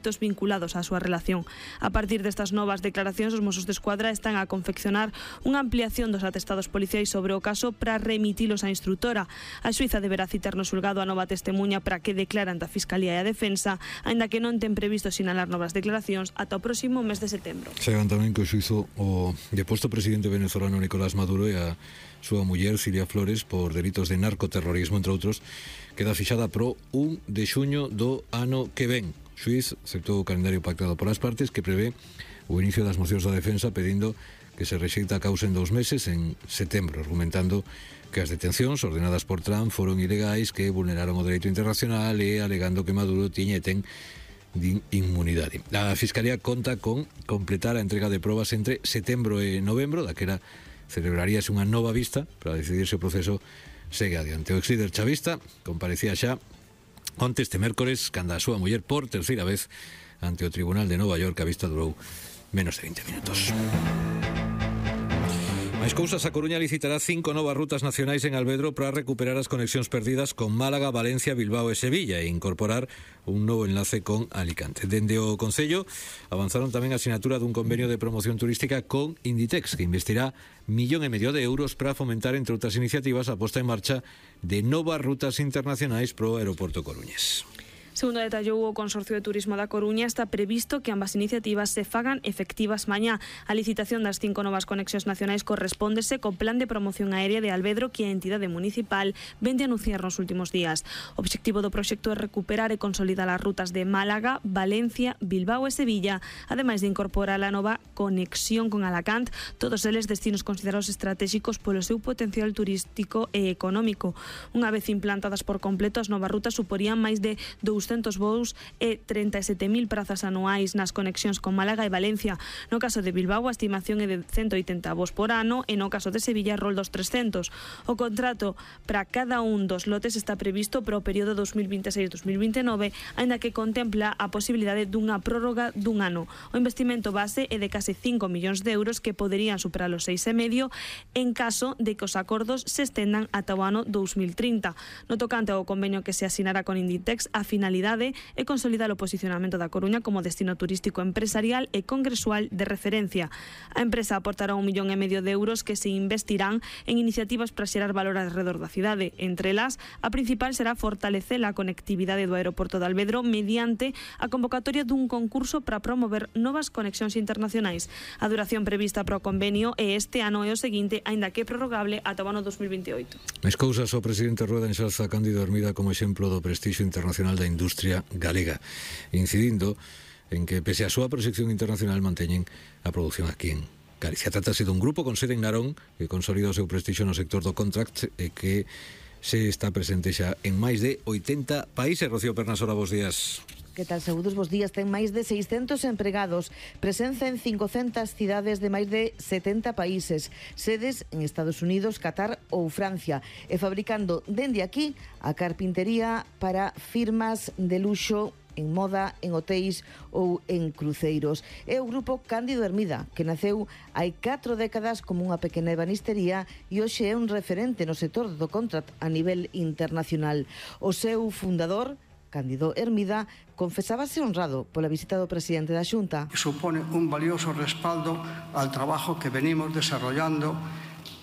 feitos vinculados á súa relación. A partir destas novas declaracións, os Mossos de Escuadra están a confeccionar unha ampliación dos atestados policiais sobre o caso para remitilos á instrutora. A xuíza deberá citar no xulgado a nova testemunha para que declaran da Fiscalía e a Defensa, aínda que non ten previsto sinalar novas declaracións ata o próximo mes de setembro. Chegan tamén que o xuízo o deposto presidente venezolano Nicolás Maduro e a súa muller Cilia Flores por delitos de narcoterrorismo, entre outros, queda fixada pro 1 de xuño do ano que ven. O xuiz aceptou o calendario pactado polas partes que prevé o inicio das mocións da defensa pedindo que se rexeita a causa en 2 meses en setembro, argumentando que as detencións ordenadas por Trump foron ilegais, que vulneraron o dereito internacional e alegando que Maduro tiña e ten inmunidade. A Fiscalía conta con completar a entrega de probas entre setembro e novembro, daquela celebraríase unha nova vista para decidir se o proceso segue adiante. O ex-líder chavista comparecía xa onte este mércores cando a súa muller por terceira vez ante o Tribunal de Nova York. A vista durou menos de 20 minutos. Máis cousas, a Coruña licitará 5 novas rutas nacionais en Alvedro para recuperar as conexións perdidas con Málaga, Valencia, Bilbao e Sevilla e incorporar un novo enlace con Alicante. Dende o Concello avanzaron tamén a sinatura dun convenio de promoción turística con Inditex, que investirá 1,5 millón de euros para fomentar, entre outras iniciativas, a posta en marcha de novas rutas internacionais pro aeroporto coruñés. Segundo detallou o Consorcio de Turismo da Coruña, está previsto que ambas iniciativas se fagan efectivas mañá. A licitación das 5 novas conexións nacionais correspóndese co Plan de Promoción Aérea de Alvedro que a entidade municipal vende a anunciar nos últimos días. O obxectivo do proxecto é recuperar e consolidar as rutas de Málaga, Valencia, Bilbao e Sevilla, ademais de incorporar a nova conexión con Alacant, todos eles destinos considerados estratégicos polo seu potencial turístico e económico. Unha vez implantadas por completo, as novas rutas suporían máis de 200 voos e 37.000 prazas anuais nas conexións con Málaga e Valencia. No caso de Bilbao, a estimación é de 180 voos por ano e no caso de Sevilla rol dos 300. O contrato para cada un dos lotes está previsto para o período 2026-2029, aínda que contempla a posibilidade dunha prórroga dun ano. O investimento base é de case 5 millóns de euros que poderían superar os 6,5 en caso de que os acordos se estendan ata o ano 2030. No tocante ao convenio que se asinará con Inditex, a finalidade é consolidar o posicionamento da Coruña como destino turístico empresarial e congresual de referencia. A empresa aportará 1,5 millón de euros que se investirán en iniciativas para xerar valor alrededor da cidade. Entre elas, a principal será fortalecer a conectividade do aeroporto de Alvedro mediante a convocatoria dun concurso para promover novas conexións internacionais. A duración prevista para o convenio é este ano e o seguinte, aínda que é prorrogable ata o ano 2028. Máis cousas, o presidente Rueda enxalza Cándido Hermida como exemplo do prestixio internacional da industria galega, incidindo en que, pese a súa proxección internacional, manteñen a produción aquí en Galicia. Trátase dun grupo con sede en Narón que consolida o seu prestixio no sector do contract e que se está presente xa en máis de 80 países. Rocío Pernasola, bos días. Que tal, saúdos, bos días. Ten máis de 600 empregados, presenza en 500 cidades de máis de 70 países, sedes en Estados Unidos, Qatar ou Francia, e fabricando dende aquí a carpintería para firmas de luxo en moda, en hotéis ou en cruceiros. É o grupo Cándido Hermida, que naceu hai 4 décadas como unha pequena ebanistería e hoxe é un referente no sector do contract a nivel internacional. O seu fundador, Cándido Hermida, confesábase honrado pola visita do presidente da Xunta. Supone un valioso respaldo al trabajo que venimos desarrollando,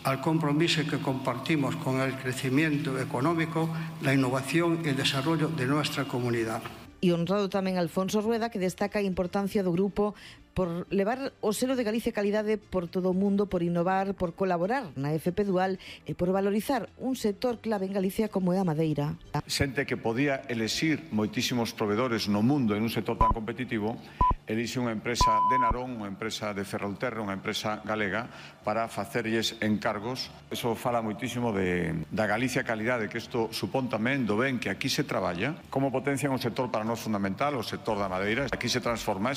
al compromiso que compartimos con el crecimiento económico, la innovación y el desarrollo de nuestra comunidad. E honrado tamén Alfonso Rueda, que destaca a importancia do grupo por levar o selo de Galicia Calidade por todo o mundo, por innovar, por colaborar na FP Dual e por valorizar un sector clave en Galicia como é a madeira. Xente que podía elexir moitísimos provedores no mundo en un sector tan competitivo, elixe unha empresa de Narón, unha empresa de Ferrolterra, unha empresa galega, para facerlles encargos. Eso fala moitísimo da Galicia Calidade, que isto supón tamén do ben que aquí se traballa, como potencia un sector para nós fundamental, o sector da madeira. Aquí se transforma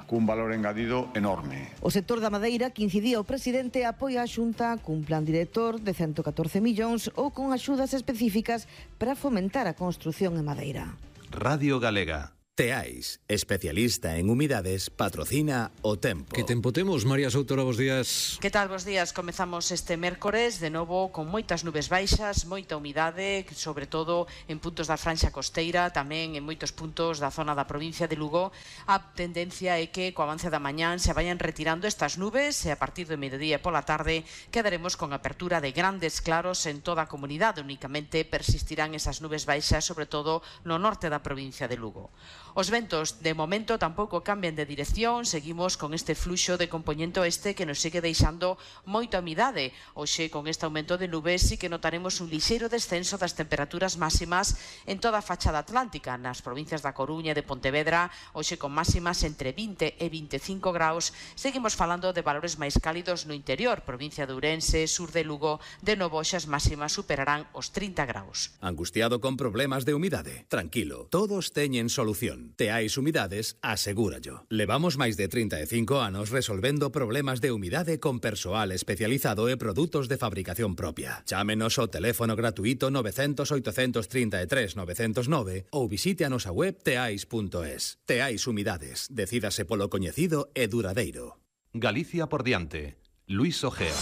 cun valor engadido enorme. O sector da madeira, que incidía o presidente, apoia a Xunta cun plan director de 114 millóns ou con axudas específicas para fomentar a construción en madeira. Radio Galega. Teais, especialista en humidades, patrocina o tempo. Que tempo temos, María Soutora, bos días. Que tal, bos días? Comezamos este mércores de novo con moitas nubes baixas, moita humidade, sobre todo en puntos da franxa costeira, tamén en moitos puntos da zona da provincia de Lugo. A tendencia é que co avance da mañán se vayan retirando estas nubes e a partir do mediodía e pola tarde quedaremos con apertura de grandes claros en toda a comunidade. Únicamente persistirán esas nubes baixas, sobre todo no norte da provincia de Lugo. Os ventos, de momento, tampouco cambian de dirección. Seguimos con este fluxo de compoñente oeste que nos sigue deixando moita humidade. Hoxe, con este aumento de nubes, sí que notaremos un lixeiro descenso das temperaturas máximas en toda a fachada atlántica. Nas provincias da Coruña e de Pontevedra, hoxe con máximas entre 20 e 25 graus. Seguimos falando de valores máis cálidos no interior. Provincia de Ourense, sur de Lugo, de novo as máximas superarán os 30 graus. Angustiado con problemas de humidade? Tranquilo, todos teñen solución. Teais Humidades, asegúrallo. Levamos máis de 35 anos resolvendo problemas de humidade con persoal especializado e produtos de fabricación propia. Chámenos ao teléfono gratuito 900 833 909 ou visite a nosa web teais.es. Teais Humidades, decídase polo coñecido e duradeiro. Galicia por diante. Luis Ojea.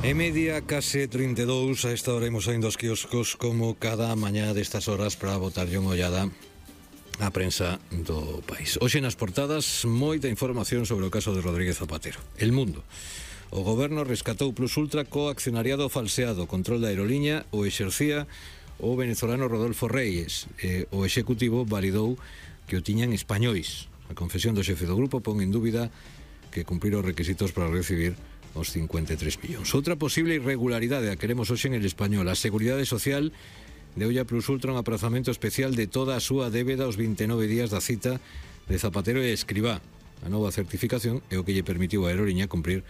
E media, case 32, a esta hora imos saindo aos quioscos como cada mañá destas horas para botarlle unha ollada á prensa do país. Hoxe nas portadas, moita información sobre o caso de Rodríguez Zapatero. El Mundo. O goberno rescatou Plus Ultra co accionariado falseado. Control da aeroliña o exercía o venezolano Rodolfo Reyes. O executivo validou que o tiñan españois. A confesión do xefe do grupo pon en dúbida que cumprir os requisitos para recibir os 53 millóns. Outra posible irregularidade a queremos hoxe en El Español. A Seguridade Social deulle a Plus Ultra un aprazamento especial de toda a súa débeda aos 29 días da cita de Zapatero e Escribá. A nova certificación é o que lle permitiu a aeroliña cumprir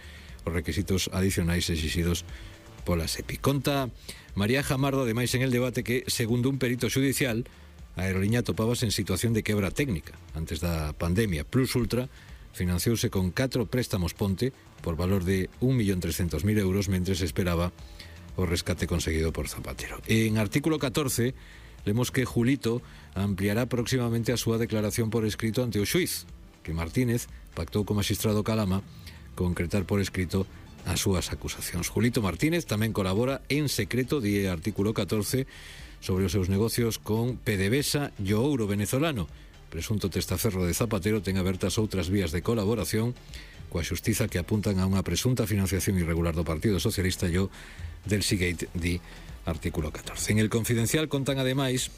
os requisitos adicionais exixidos pola SEPI. Conta María Jamardo, ademais, en el debate que, segundo un perito judicial, a aeroliña topábase en situación de quebra técnica antes da pandemia. Plus Ultra financiouse con 4 préstamos ponte por valor de 1.300.000 euros mentre se esperaba o rescate conseguido por Zapatero. En artículo 14 lemos que Julito ampliará próximamente a súa declaración por escrito ante o xuiz, que Martínez pactou co magistrado Calama concretar por escrito as súas acusacións. Julito Martínez tamén colabora en secreto, di artículo 14, sobre os seus negocios con PDVSA e o ouro venezolano. Presunto testaferro de Zapatero ten abertas outras vías de colaboración coa xustiza que apuntan a unha presunta financiación irregular do Partido Socialista e o del Seagate, di artículo 14. En El Confidencial contan ademais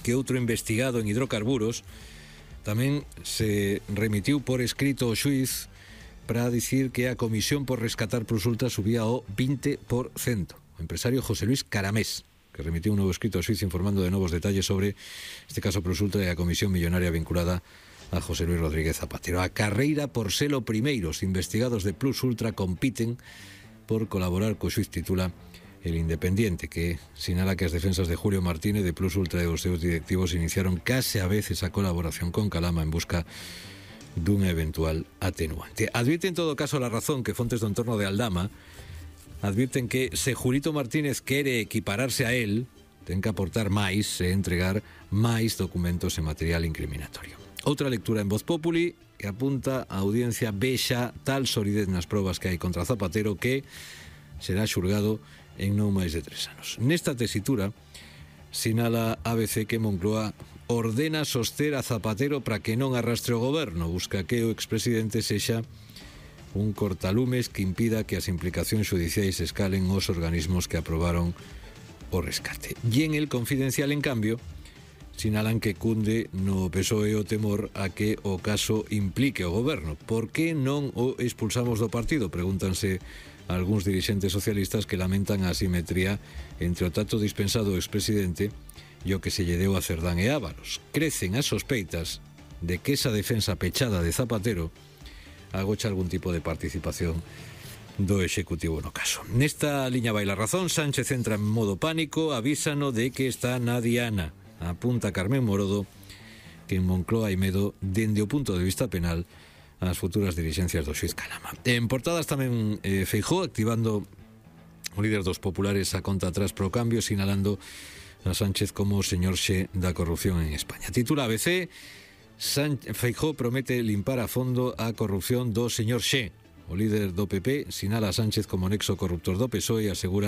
que outro investigado en hidrocarburos tamén se remitiu por escrito ao xuiz para dicir que a comisión por rescatar Plus Ultra subía ao 20%. O empresario José Luis Caramés, que remitiu un novo escrito ao xuiz informando de novos detalles sobre este caso Plus Ultra e a comisión millonaria vinculada a José Luis Rodríguez Zapatero. A carreira por ser o primeiro. Os investigados de Plus Ultra compiten por colaborar co xuiz, titula El Independiente, que sinala que as defensas de Julio Martínez de Plus Ultra e os seus directivos iniciaron case a veces a colaboración con Calama en busca dunha eventual atenuante. Advirten en todo caso La Razón que fontes do entorno de Aldama advirten que se Julito Martínez quere equipararse a él, ten que aportar máis e entregar máis documentos e material incriminatorio. Outra lectura en Voz Populi que apunta a audiencia vexa tal solidez nas probas que hai contra Zapatero que será xulgado en non máis de 3 anos. Nesta tesitura sinala ABC que Moncloa ordena soster a Zapatero para que non arrastre o goberno, busca que o expresidente sexa un cortalumes que impida que as implicacións xudiciais escalen os organismos que aprobaron o rescate. E en El Confidencial, en cambio, sinalan que cunde no PSOE o temor a que o caso implique o goberno. Por que non o expulsamos do partido? Pregúntanse algúns dirixentes socialistas que lamentan a asimetría entre o trato dispensado ao expresidente e o que se lle deu a Cerdán e Ábalos. Crecen as sospeitas de que esa defensa pechada de Zapatero agocha algún tipo de participación do Executivo no caso. Nesta liña vai La Razón. Sánchez entra en modo pánico, avísano de que está na diana. Apunta Carmen Morodo que en Moncloa hai medo dende o punto de vista penal as futuras dirixencias do xuiz Calama. En portadas tamén Feijóo activando o líder dos populares a conta atrás pro cambio, sinalando a Sánchez como o señor Xe da corrupción en España. Titula ABC: Feijóo promete limpar a fondo a corrupción do señor Xe. O líder do PP sinala a Sánchez como nexo corruptor do PSOE e asegura